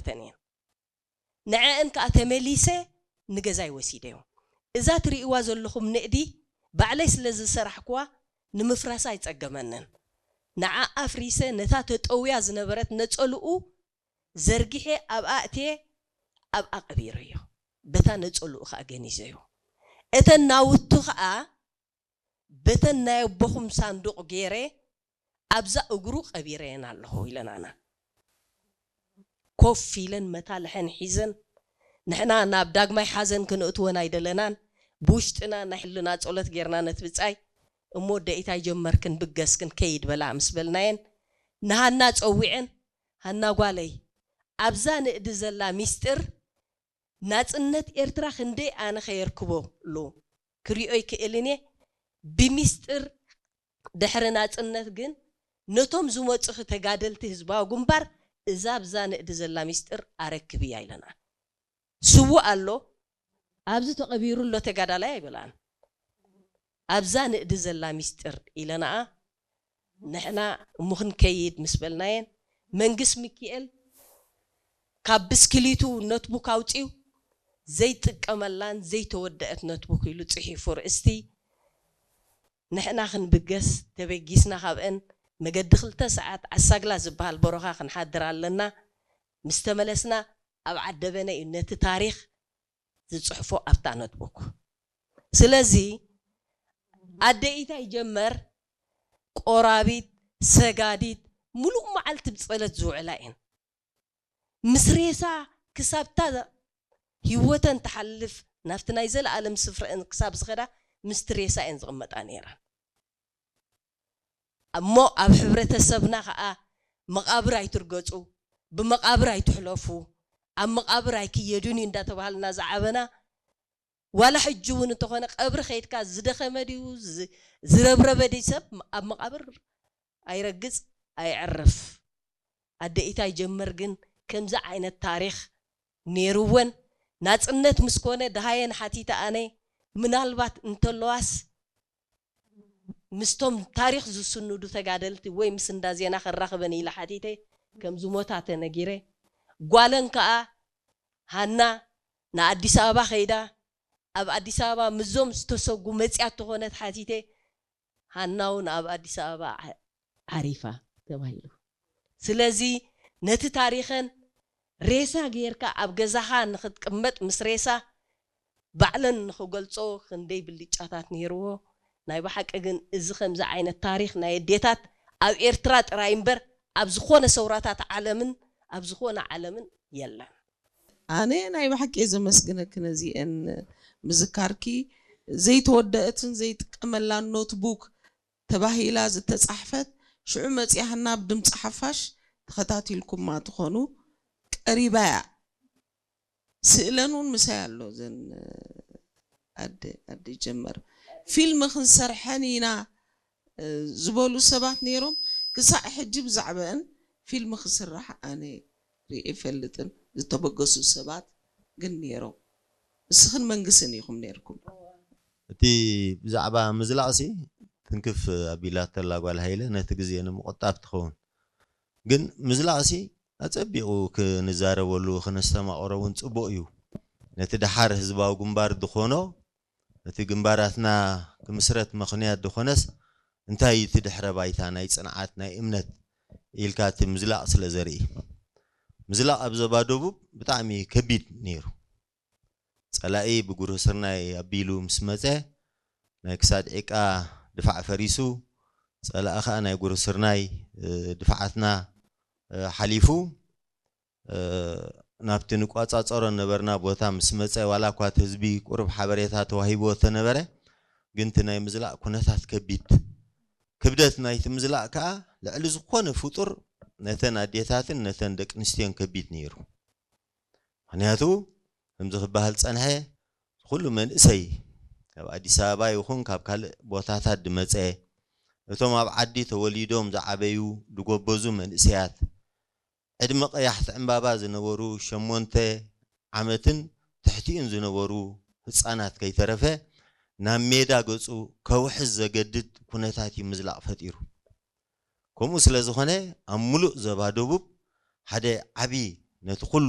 ኣተን እየን። ንዐአን ከዓ ተመሊሰ ንገዛይ ወሲደዮ። እዛ ትርእይዋ ዘለኹም ንእዲ ባዕለይ ስለ ዝሰራሕኩዋ ንምፍራሳ ኣይጸገመንን። ንዓ ኣፍሪሰ ነታ ተጠውያ ዝነበረት ነጸልኡ ዘርጊሐ ኣብ ኣእትየ ኣብኣ ቀቢረዮ። በታ ነጸልኡ ከዓ ገኒዘዮ። እተን ናውቱ ከዓ በተን ናይ ኣቦኹም ሳንዱቕ ገይረ ኣብዛ እግሩ ቀቢረየን ኣለኹ ኢለናና። ኮፍ ኢለን መታልሐን ሒዘን ንሕና ናብ ዳግማይ ሓዘን ክንእትወን ኣይደለናን። ብውሽጥና ናይ ሕልና ጸሎት ጌርና ነቲ ብጻይ እሞ ደኢታይ ጀመር ክንብገስ ክንከይድ በላ ምስ በልናየን ንሃና ጸዊዐን ሃና ጓለይ ኣብዛ ንእዲ ዘላ ሚስጥር ናጽነት ኤርትራ ክንደይ ኣነ ከየርክበሉ ክሪኦ ይክእልን እየ። ብሚስጥር ድሕሪ ናጽነት ግን ነቶም ዝመጹኺ ተጋደልቲ ህዝባዊ ግንባር እዛ ኣብዛ ንእዲ ዘላ ሚስጥር ኣረክብያ ኢለና። ስዉእ ኣሎ ኣብዚ ተቐቢሩ ኣሎ ተጋዳላይ ኣይበላን። ኣብዛ ንእዲ ዘላ ሚስጥር ኢለናኣ ንሕና እሞ ክንከይድ ምስ በልናየን መንግስ ሚኪኤል ካብ ብስክሊቱ ኖትቡክ ኣውፂኡ ዘይጥቀመላን ዘይተወደአት ኖትቡክ ኢሉ ፅሒፉ ርእስቲ ንሕና ክንብገስ ተበጊስና ካብአን መገዲ ክልተ ሰዓት ዓሳግላ ዝበሃል በረኻ ክንሓድር ኣለና። ምስ ተመለስና ኣብ ዓደበነ እዩ ነቲ ታሪኽ ዝፅሕፎ ኣብታ ኖትቡክ። ስለዚ ኣደ ኢታይ ጀመር ቆራቢት ሰጋዲት ሙሉእ መዓልቲ ብፀለት ዝውዕላ እየን። ምስ ሬሳ ክሳብታ ህይወተን ትሓልፍ ናብቲ ናይ ዘለኣለም ስፍረአን ክሳብ ዝኸዳ ምስቲ ሬሳ እየን ዝቕመጣ ነይረን። እሞ ኣብ ሕብረተሰብና ከዓ መቓብር ኣይትርገፁ፣ ብመቓብር ኣይትሕለፉ፣ ኣብ መቓብር ኣይክየዱን እዩ እንዳተባሃልና ዝዓበና ዋላ ሕጂ እውን እንተኾነ ቀብሪ ከይድካ ዝደኸመ ድዩ ዝረብረበ ድዩ ሰብ ኣብ መቓብር ኣይረግፅ ኣይዕርፍ። ኣደ ኢታይ ጀመር ግን ከምዚ ዓይነት ታሪኽ ነይርወን ናፅነት ምስ ኮነ ደሃየን ሓቲተ ኣነ ምናልባት እንተለዋስ ምስቶም ታሪኽ ዝስንዱ ተጋደልቲ ወይ ምስ እንዳ ዜና ከራኽበን ኢለ ሓቲተ ከም ዝሞታ ተነጊረ ጓለን ከዓ ሃና ንኣዲስ ኣበባ ከይዳ ኣብ ኣዲስ ኣበባ ምዞም ዝተሰጉ መፅያ ተኾነት ሓቲተ ሃናውን ኣብ ኣዲስ ኣበባ ዓሪፋ ተባሂሉ። ስለዚ ነቲ ታሪኸን ሬሳ ጌርካ ኣብ ገዛኻ ንክትቅመጥ ምስ ሬሳ ባዕለን ንክገልጾ ክንደይ ብልጫታት ነይርዎ። ናይ ብሓቂ ግን እዚ ከምዚ ዓይነት ታሪኽ ናይ ኣዴታት ኣብ ኤርትራ ጥራይ እምበር ኣብ ዝኾነ ሰውራታት ዓለምን ኣብ ዝኾነ ዓለምን የለን። ኣነ ናይ ብሓቂ እየ ዘመስግነኪ ነዚአን ምዝካርኪ። ዘይተወደአትን ዘይጥቀመላን ኖትቡክ ተባሂላ ዝተጻሕፈት ሽዑ መጺኣ ናብ ድምፂ ሓፋሽ ተኸታቲልኩማ ትኾኑ ቀሪባ እያ። ስእለን እውን ምሳይ ኣሎ። ዘን ኣደ ኣደ ጀመር ፊልም ክንሰርሐን ኢና ዝበሉ ሰባት ነይሮም። ክሳዕ ሕጂ ብዛዕባአን ፊልም ክስራሕ ኣነ ርኢ ይፈልጥን። ዝተበገሱ ሰባት ግን ነይሮም። ንስኽን መንግስትን ኢኹም ነይርኩም። እቲ ብዛዕባ ምዝላቕሲ ትንክፍ ኣቢላተላ ጓል ሃይለ ነቲ ግዜ ንምቑጣብ ትኸውን። ግን ምዝላቕሲ ኣጸቢቑ ክንዛረበሉ ክነስተማቕሮ እውን ጽቡቕ እዩ። ነቲ ደሓር ህዝባዊ ግንባር ዝኾኖ ነቲ ግንባራትና ክምስረት ምኽንያት ዝኾነስ እንታይ እቲ ድሕረ ባይታ ናይ ጽንዓት ናይ እምነት ኢልካ እቲ ምዝላቕ ስለ ዘርኢ ምዝላቕ ኣብ ዞባ ደቡብ ብጣዕሚ ከቢድ ነይሩ። ጸላኢ ብጉርህ ስርናይ ኣቢሉ ምስ መጸ ናይ ክሳድ ዒቃ ድፋዕ ፈሪሱ ጸላኢ ኸኣ ናይ ጉርህ ስርናይ ድፍዓትና ሓሊፉ ናብቲ ንቋጻጸሮ ነበርና ቦታ ምስ መጸ ዋላ እኳ እቲ ህዝቢ ቁሩብ ሓበሬታ ተዋሂብዎ ተነበረ ግን እቲ ናይ ምዝላቕ ኩነታት ከቢድ ክብደት ናይቲ ምዝላቕ ከኣ ልዕሊ ዝኾነ ፍጡር ነተን ኣዴታትን ነተን ደቂ ኣንስትዮን ከቢድ ነይሩ። ምኽንያቱ ከምዚ ክበሃል ዝጸንሐ ኩሉ መንእሰይ ካብ ኣዲስ ኣበባ ይኹን ካብ ካልእ ቦታታት ዝመጸ እቶም ኣብ ዓዲ ተወሊዶም ዝዓበዩ ዝጎበዙ መንእሰያት ዕድመ ቀያሕቲ ዕምባባ ዝነበሩ ሸሞንተ ዓመትን ትሕቲኡን ዝነበሩ ህጻናት ከይተረፈ ናብ ሜዳ ገጹ ከውሕዝ ዘገድድ ኩነታት እዩ ምዝላቕ ፈጢሩ። ከምኡ ስለ ዝኾነ ኣብ ሙሉእ ዞባ ደቡብ ሓደ ዓቢ ነቲ ኩሉ